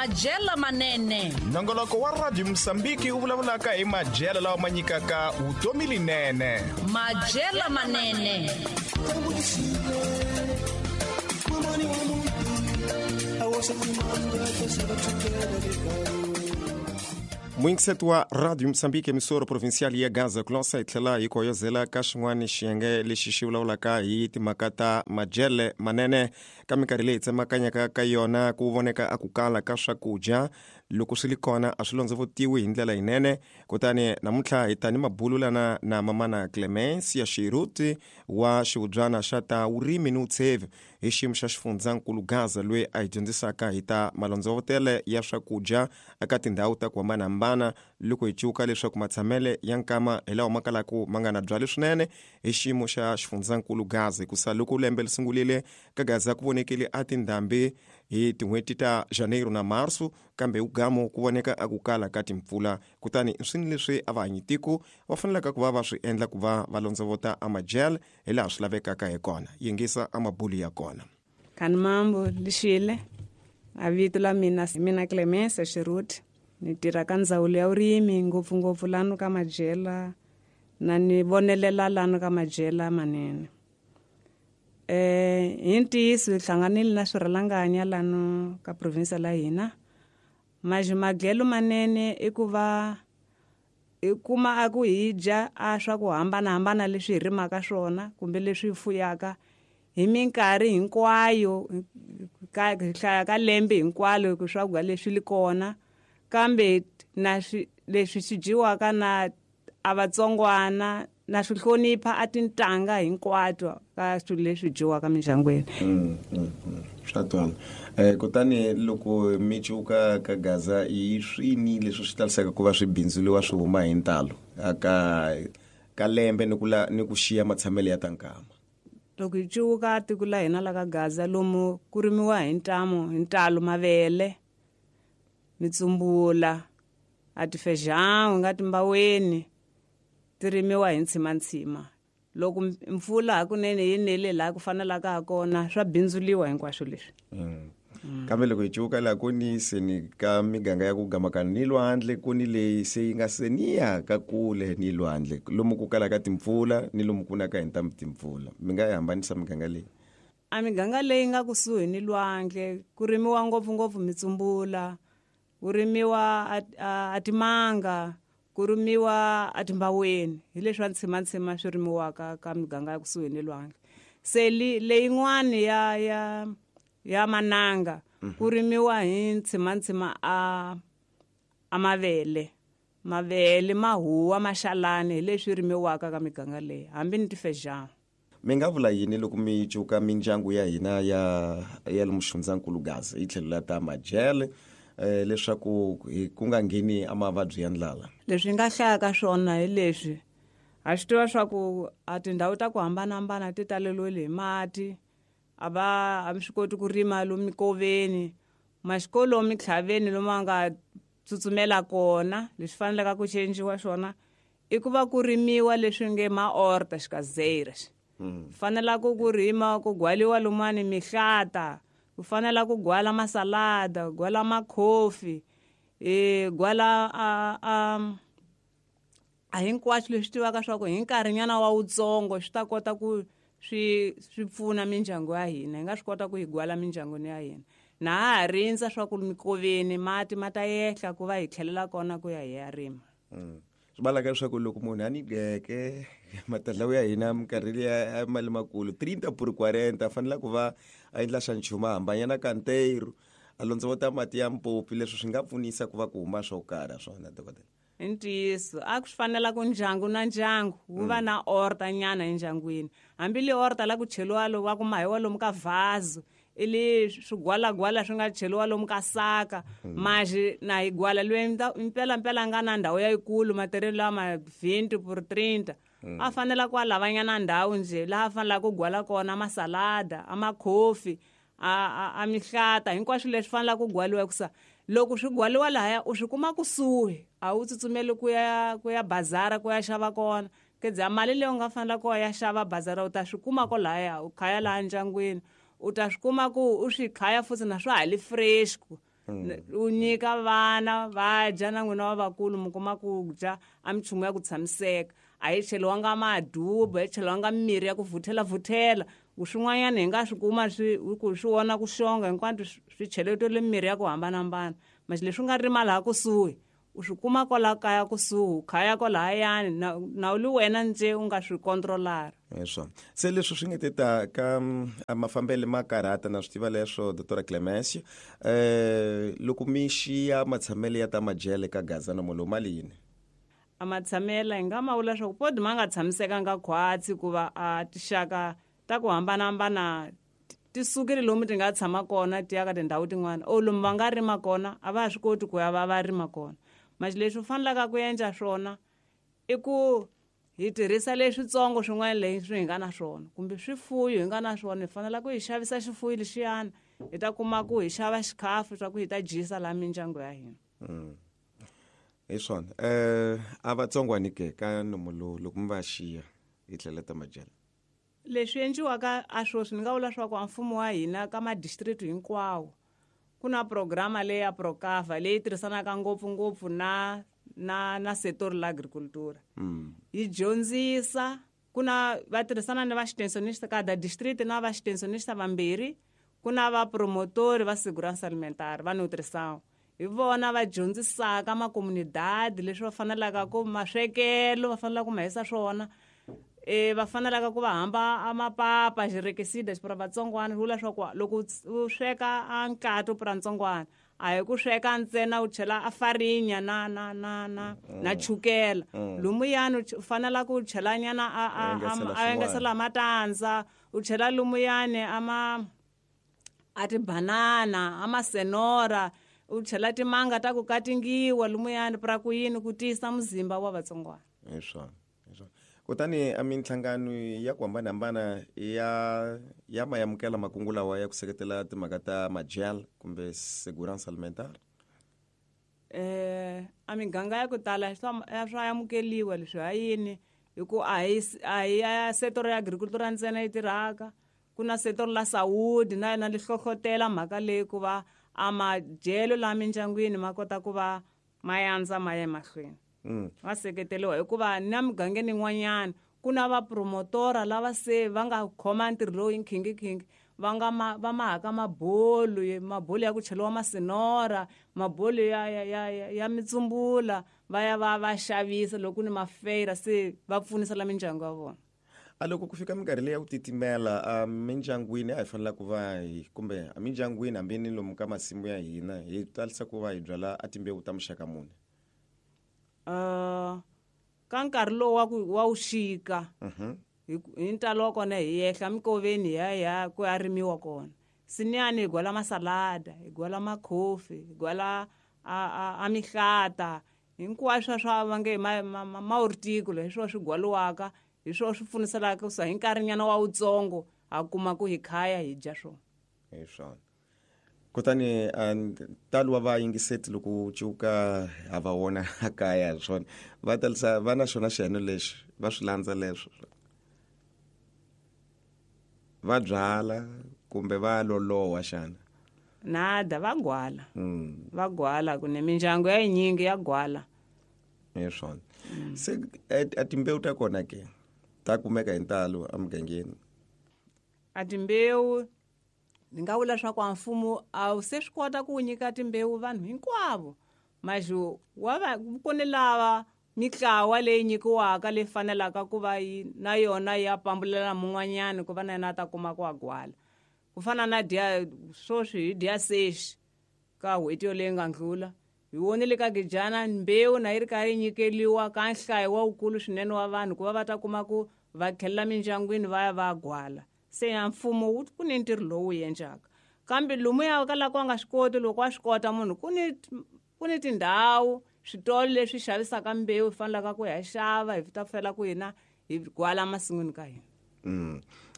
Madyelo manene. Nongoloko wa Radio Mosambiki wu vulavulaka hi madyelo lawa ma nyikaka vutomi linene. Madyelo manene. Muyingiseti wa Radio Mosambiki, emissora provincial ya Gaza, ku lansa hi tlhela hi koyozela ka xin'wana xiyenge lexi xi vulavulaka hi timhaka ta madyele manene. Ka minkarhi leyi tsemakanyaka ka yona ku voneka a ku kala ka swakudya, loko swi li kona a swi londzovotiwi hi ndlela yinene. Kutani namuntlha hi ta ni mabululana na mamana Clemencia Xiruti wa xivubyana xa ta vurimi ni vutshevi hi xiyimo xa xifundzankulu Gaza, loyi a hi dyondzisaka hi ta malondzovotele ya swakudya eka tindhawu ta ku hambanahambana, loko hi cuka leswaku matshamele ya nkama hi lawa ma kalaka ma nga na byali swinene hi xiyimo xa xifundzankulu Gaza. Hikusa loko lembe li sungulile ka Gaza ku vonekile a tindhambi hi tin'hweti ta Janeiro na Marso, kambe hi gamo ku voneka a ku kala ka timpfula. Kutani swini leswi a va hanyi tiko va fanelaka ku va va swi endla ku va va londzovota a madyele hi laha swi lavekaka hi kona. Yingisa a mabulu ya kona. Kani mambo lixile, a vito la mina hi mina Clemencia Xiruti, ni tirha ka ndzawulo ya vurimi ngopfungopfu lano ka madyela na ni vonelela lano ka madyela manene. Hi ntiyiso hi hlanganile na swirhalanganya lano ka province la hina. Madyelo manene i ku va hi kuma a ku hi dya a swa ku hambanahambana leswi hi rimaka swona kumbe leswi hi fuyaka hi minkarhi hinkwayo, ka hi hlaya ka lembe hinkwalo ku swakudya leswi li kona, kambe na swi leswi swi dyiwaka na a vatsongwana na swi hlonipha a tintanga hinkwato ka swilo leswi dyiwaka mindyangwini. Swa twala. Kutani loko mi cuka ka Gaza, hi swini leswi swi talisaka ku va swi bindzuliwa swi huma hi ntalo ka lembe ni ku la, ni ku xiya matshamelo ya ta nkama? Loko hi cuka tiko la hina la ka Gaza, lomu ku rimiwa hi ntamu hi ntalo mavele, mitsumbula, a tifejão nga timbaweni ti rimiwa hi ntshimantsima. Loko mpfula hakunene yi nele laha ku fanelaka ha kona, swa bindzuliwa hinkwaswo leswi. Kambe loko hi cuka laha ku ni seni ka miganga ya ku gamakana ni lwandle, ku ni leyi se yi nga seniya ka kule ni lwandle, lomu ku kalaka timpfula ni lomu ku naka hi ntamu timpfula, mi nga yi hambanisa miganga leyi? A miganga leyi nga kusuhi ni lwandle ku rimiwa ngopfungopfu mitsumbula, ku rimiwa a timanga, ku rimiwa a timbaweni, hi leswi swa ntshimantsima swi rimiwaka ka miganga ya kusuhi ni lwandle. Se leyin'wani ya mananga ku rimiwa hi ntshimantsima a mavele, mavele mahuwa maxalani, hi leswi rimiwaka ka miganga leyi, hambi ni tifejana. Mi nga vula yini loko mi cuka mindyangu ya hina ya le muxifundzankulu Gaza hi tlhelo la ta madyele, leswaku hi ku nga ngheni a mavabyi ya ndlala? Leswi nga hlayaka swona hi leswi, ha swi tiva swa ku a tindhawu ta ku hambanahambana ti taleriwile hi mati, a va a mi swi koti ku rima lomu mikoveni, maxikolo mitlhaveni lomu a nga tsutsumela kona. Leswi fanelaka ku cinciwa swona i ku va ku rimiwa leswi nge maorta xikazeiras. Fanela ku rima ku gwaliwa lumani mihlata, ku fanela ku gwala masalada, gwala makhofi, gwala a hinkwaswo leswi tivaka swa ku hi nkarhinyana wa wutsongo swi ta kota ku swi pfuna mindyangu ya hina, hi nga swi kota ku hi gwala mindyangwini ya hina. Na ha ha rindza swa ku mikoveni mati ma ta yehla ku va hi tlhelela kona ku ya hi ya rima. Swi valaka leswaku loko munhu a ni geke matadlawu ya hina minkarhi liya ya mali makulu 30 por 40, a fanele ku va a endla xa nchumu, a hambanyana kanteiro, a londzovota mati ya mpopi, leswi swi nga pfunisa ku va ku huma swo karhi swona, dokodela. I ntiyiso, a ku swi fanela ku ndyangu na ndyangu wu va na orta nyana endyangwini, hambi le orta la ku cheliwa lo wa ku mahiwa lomu ka vhazu, i le swigwalagwala swi nga cheliwa lomu ka saka, maxi na hi gwala loyi mpela mpela a nga na ndhawu yayikulu, matirhelo lama 20 por 30, a fanela ku a lavanyana ndhawu njhe laha a fanelaka ku gwala kona masalada, a makhofi, a mihlata, hinkwaswo leswi fanelaka ku gwaliwa, hikusa loko swi gwaliwa lahaya u swi kuma kusuhi, a wu tsutsumeli ku ya bazara ku ya xava kona. Kedza mali leyi u nga fanela ku ya xava bazara u ta swi kuma kolahaya, u khaya laha ndyangwini, u ta swi kuma ku u swi khaya futhi na swa ha li fresh ku. U nyika vana va dya na n'wina wa vakulu mi kuma ku dya a minchumu ya ku tshamiseka. A yi cheliwanga madubu, a yi cheliwanga mirhi ya ku vuthela-vuthela. Swin'wanyana hi nga swi kuma swi ku swi vona ku xonga hinkwato swi cheletele mirhi ya ku hambanahambana. Masi leswi nga rima laha kusuhi u swi kuma kwala kaya kusuhi, khaya kwalahayani na u li wena nje u nga swi kontrolara. Hi swona. Se leswi swi nge te ta ka mafambele ma karhata na swi tiva leswo Dr. Clemencio. Loko mi xiya matshamele ya ta majele ka Gaza nomo lowu ma li yini? A matshamela hi nga ma vula swa ku podi ma nga tshamisekanga khwatsi kuva a tixaka ta ku hambanahambana ti sukile lomu ti nga tshama kona ti ya ka tindhawu tin'wana. O lomu va nga rima kona a va ha swi koti ku ya va va rima kona. Masi leswi u fanelaka ku endla swona i ku hi tirhisa leswitsongo swin'wana leswi hi nga na swona kumbe swifuyo hi nga na swona, hi fanela ku hi xavisa xifuyo lexiyana hi ta kuma ku hi xava xikhafu swa ku hi ta dyisa laha mindyangu ya hina. Hi swona. A vatsongwani ke ka nomo lowu loko mi va xiya hi tlhela ta majele? Leswi endliwaka a sweswi ni nga vula swa ku a mfumo wa hina ka madistrict hinkwawo ku na programa leyi ya Procava leyi tirhisanaka ngopfungopfu na setor la agricultura. Yi dyondzisa ku na va tirhisana ni va extensionista kada district na va extensionista vambirhi, ku na va promotori va segurança alimentar va nutrição. Hi vona va dyondzisaka makomunidadi leswi va fanelaka ku maswekelo va fanelaka ku ma hisa swona. Va fanelaka ku va hamba a mapapa xirekisida xipura vatsongwana, swi vula swa ku loko u sweka a nkato pura ntsongwana a hi ku sweka ntsena u chela a farinya na chukela. Lumuyani u fanela ku chela nyana a engesela matandza, u chela lumuyani a tibanana, a masenora, u chela timanga ta ku katingiwa lumuyani pra ku yini ku tiyisa muzimba wa vatsongwana. Hi swona. Kutani a minhlangano ya ku hambanahambana ya mayamukela makungu lawa ya ku seketela timhaka ta majel kumbe segurança alimentar? A miganga ya ku tala swa amukeliwa leswi. Ha yini? Hi ku a hi ya setor ya agricultura ntsena yi tirhaka, ku na setor la saúde na yona li hlohlotela mhaka leyi ku va a madyelo laha mindyangwini ma kota ku va ma yandza ma ya emahlweni. Va seketeriwa hikuva na migangeni yin'wanyana ku na vapromotora lava se va nga khoma ntirho lowu hi nkhinkhinkhinki, va nga va mahaka mabolo, mabolo ya ku cheliwa masinora, mabolo ya mitsumbula, va ya va va xavisa loko ku ni mafeira, se va pfunisa la mindyangu ya vona. A loko ku fika minkarhi leyi ya ku titimela a mindyangwini a hi fanela ku va hi kumbe a mindyangwini hambi ni lomu ka masimu ya hina hi talisa ku va hi byala a timbewu ta muxaka muni? Ka nkarhi lowu wa wuxika, hi ntalo wa kona hi yehla mikoveni hi ya hi ya ku ya rimiwa kona. Siniyani hi gwala masalada, hi gwala makhofi, hi gwala a mihlata, hinkwaswo swa va nge ma horticola hi swona swi gwaliwaka, hi swona swi pfuniselaka ku hi nkarhinyana wa wutsongo ha kuma ku hi khaya hi dya swona. Hi swona. Kutani ntalo wa vayingiseti loko wu cuka ha va vona a kaya hi swona va talisa va na xona xiyeno lexi va swi landza leswo va byala kumbe va loloha xana? Nada, va gwala. Va gwala ku ne mindyangu ya yinyingi ya gwala. Hi swona. Se a timbewu ta kona ke ta kumeka hi ntalo emugangeni? A timbewu ni nga vula swa ku a mfumo a wu se swi kota ku nyika timbewu vanhu hinkwavo, maxo wa va ku ni lava mitlawa leyi nyikiwaka leyi fanelaka ku va yi na yona ya pambulela mun'wanyana ku va na yena a ta kuma ku a gwala. Ku fana na dya swoswi hi dya sexi ka n'hweti yoleyi nga ndlula hi vonile ka Gijana mbewu na yi ri karhi yi nyikeliwa ka nhlayo wa wukulu swinene wa vanhu ku va va ta kuma ku va tlhelela mindyangwini va ya va gwala. Se ya mfumo wu ku ni ntirho lowu wu endlaka, kambe lomuya ka la ku a nga swi koti, loko a swi kota munhu ku ni tindhawu switolo leswi xavisaka mbewu hi fanelaka ku ya xava hi ta fela ku hina hi gwala masin'wini ka hina.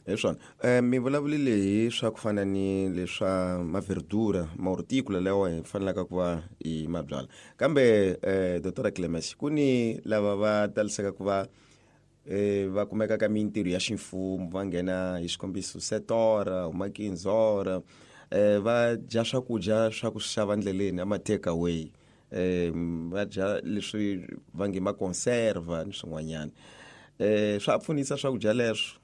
Hi swona. Mi vulavulile hi swa ku fana ni leswa maverdura, mahorticola lawa hi fanelaka ku va hi ma byala, kambe Dr Clemens, ku ni lava va talisaka ku va va kumeka ka mintirho ya ximfumo, va nghena hi xikombiso setora humakinzora Va dya swakudya swa ku xava ndleleni ama take away, va dya leswi va nge ma-conserva ni swin'wanyana. Swa pfunisa swakudya leswo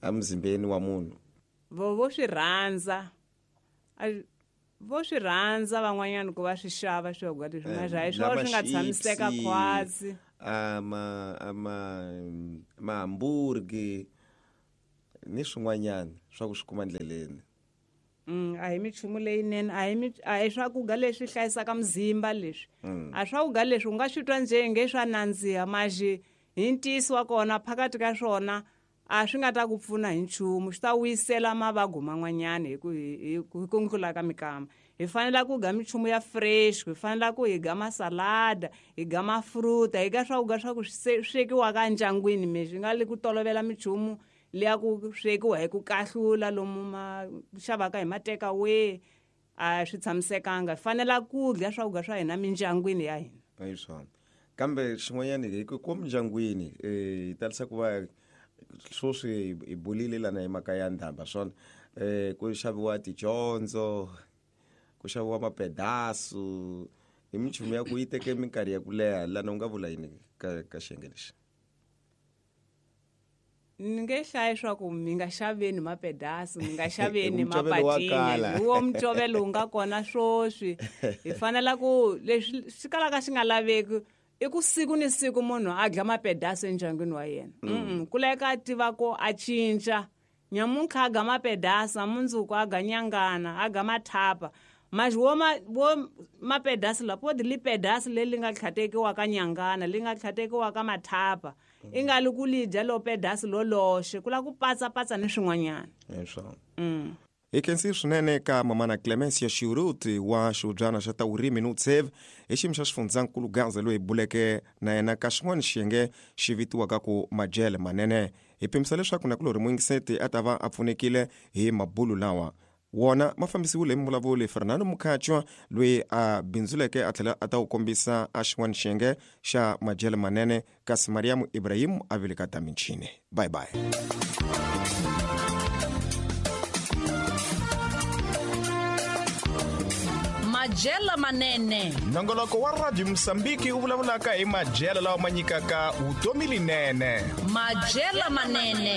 emzimbeni wa munhu? Vo swi rhandza, vo swi rhandza van'wanyana ku va swi xava swakudya leswi, ma hi swona swi nga tshamiseka khwatsi. Ama mahamburgi ni swin'wanyana swa ku swi kuma ndleleni. A hi minchumu leyinene, a hi swakudya leswi hlayisaka mzimba leswi. A swakudya leswi u nga swi twa njhe swa nandziha, maxi hi ntiyiso wa kona phakathi ka swona a swi nga ta ku pfuna hi nchumu, swi ta wisela mavabyi man'wanyana hi ku ndlula ka mikama. Hi fanele ku ga minchumu ya fresh, hi fanele ku hi ga masalada, hi ga mafruta, hi ga swakudya swa ku swekiwaka endyangwini, meswi nga le ku tolovela minchumu leya ku swekiwa hi ku kahlula lomu ma xavaka hi ma take away, a swi tshamisekanga. Hi fanele ku dya swakudya swa hina mindyangwini ya hina. Hi swona. Kambe xin'wanyana hi ku mindyangwini hi talisa ku va sweswi hi bulile lana hi mhaka ya ndhamba swona, ku xaviwa tidyondzo, ku xaviwa mapedasu, hi minchumu ya ku yi teke minkarhi ya ku leha. Lana u nga vula yini ka xiyenge lexi? Ni nge hlayi swa ku mi nga xaveni mapedasu, mi nga xaveni mapatini, wo mucovelo wu nga kona swoswi. Hi fanela ku leswi swi kalaka swi nga laveki i ku siku ni siku munhu a dya mapedasu endyangwini wa yena. Ku laveka a tiva ku a cinca. Nyamuntlha a ga mapedasu, mundzuku a ga nyangana, a ga mathapa. Mas wo mapedasi la podi li pedasi leri nga tlhatekiwaka nyangana, li nga tlhatekiwaka mathapa. I nga li ku li dya lo pedasi lo loxe, ku la ku patsapatsa ni swin'wanyana. Hi khensi swinene ka mamana Clemencia Xiruti wa xihubyana xa ta vurimi ni vutsheve hi xiyimo xa xifundzankulu Gaza, loyi hi buleke na yena ka xin'wana xiyenge xi vitiwaka ku madyele manene. Hi pimisa leswaku nakulorhi muyingiseti a ta va a pfunekile hi mabulu lawa. Wona ma fambisiwile hi muvulavuli Fernando Mukhatshwa, loyi a bindzuleke a tlhela a ta wu kombisa a xin'wana xiyenge xa madyele manene, kasi Mariam Ibrahim a vile ka ta michini. Bye bye. Madyele manene. Nongoloko wa Radio Mosambiki wu vulavulaka hi madyele lawa ma nyikaka vutomi linene. Madyele manene.